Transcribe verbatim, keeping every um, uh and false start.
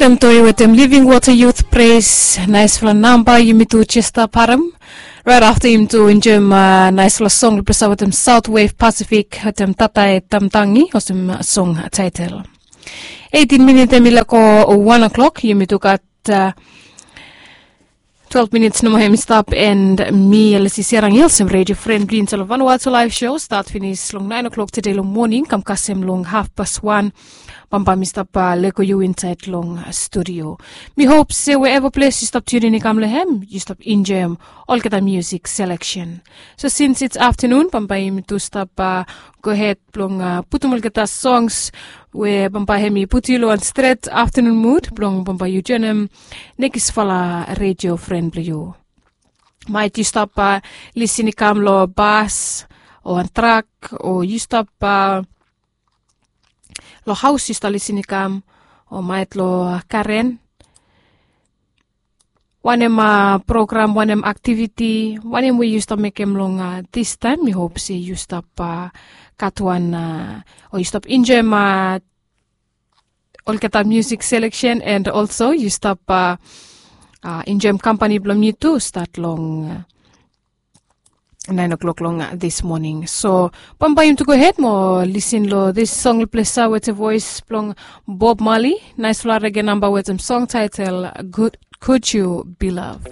Afta em toi wetem Living Water Youth Praise, naispela namba yumi tu jes stap harem. Rait afta yumi tu enjoim naispela song blong ples wetem South Wave Pacific wetem Tata e Tamtangi, olsem song title. Eighteen minit em i lako wan o'clock, yumi tu gat twelve minits nomo hem i stap, and mi Elisi Serangil olsem radio friend blong yu insait long Vanuatu Live Show, start finis long nine o'clock today long morning kam kasem long half past one. Bambae mi stap leko yu insait long studio. Mi hope se wherever place yu stap tuning i kam long hem, yu stap enjoyim olgeta music selection. So since it's afternoon, bambae yumi tu stap go ahead blong putum olgeta songs we bambae hem i putum yu long wan stret afternoon mood blong bambae yu joinim nekisfala radio friend blong yu. Maet yu stap lisin i kam long bas o wan trak, o yu stap long haos yu stap lisin i kam, o maet long karen. Wanem program, wanem aktiviti, wanem we yu stap mekem long distaem, mi hop se yu stap gat wan, o yu stap enjoim olgeta music selection, and also yu stap enjoim kampani blong mi tu stat long nine o'clock long this morning. So bambae yumi tu go ahead mo lisin long this song blong ples wetem voice blong Bob Marley. Naispela rege namba wetem song title Good, Could You Be Loved.